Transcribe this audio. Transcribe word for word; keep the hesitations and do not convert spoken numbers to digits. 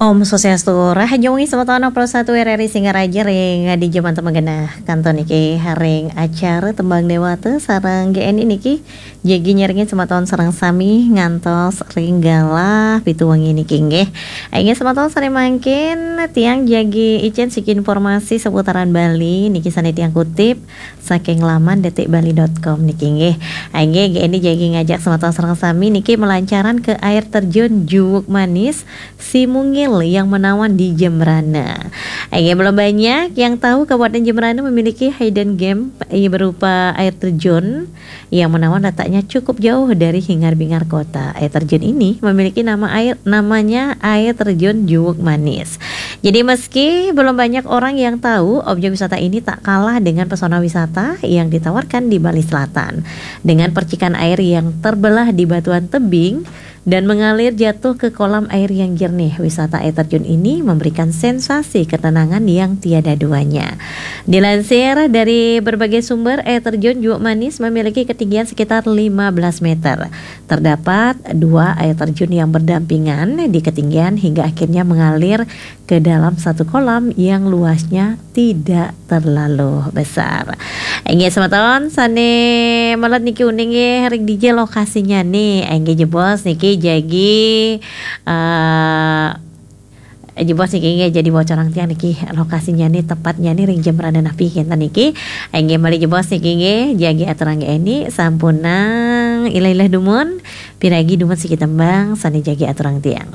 Om Swastiastu, rahayu wengi semeton, Pro satu R R I Singaraja ring D J Mantap Magena. Kantun niki ring acara Tembang Dewata sareng G N I niki. Jagi nyarengin semeton sareng sami ngantos ring galah pitu wengi niki nggih. Inggih semeton, sane mangkin tiang jagi icen siki informasi seputaran Bali niki sane tiang kutip saking laman detik bali dot com niki nggih. Inggih, G N I jagi ngajak semeton sareng sami niki melancaran ke air terjun Juwuk Manis Simungil yang menawan di Jembrana. Inggih, belum banyak yang tahu Kabupaten Jembrana memiliki hidden gem, eh, berupa air terjun yang menawan letaknya cukup jauh dari hingar-bingar kota. Air terjun ini memiliki nama air, namanya air terjun Juwuk Manis. Jadi meski belum banyak orang yang tahu, objek wisata ini tak kalah dengan pesona wisata yang ditawarkan di Bali Selatan. Dengan percikan air yang terbelah di batuan tebing dan mengalir jatuh ke kolam air yang jernih, wisata air terjun ini memberikan sensasi ketenangan yang tiada duanya. Dilansir dari berbagai sumber, air terjun Juwuk Manis memiliki ketinggian sekitar lima belas meter. Terdapat dua air terjun yang berdampingan di ketinggian hingga akhirnya mengalir ke dalam satu kolam yang luasnya tidak terlalu besar. Inggih semeton, sane melet niki uning nggih ring dija lokasinyane. Inggih jebos niki jagi, eh, jebos niki nggih jagi bocorang tiang niki lokasinyane tepatnyane ring Jembrana napi kenten niki. Inggih malih jebos niki nggih jagi aturang G N I sampunang ilah-ilah dumun, piragi dumun siki tembang sane jagi aturang tiang.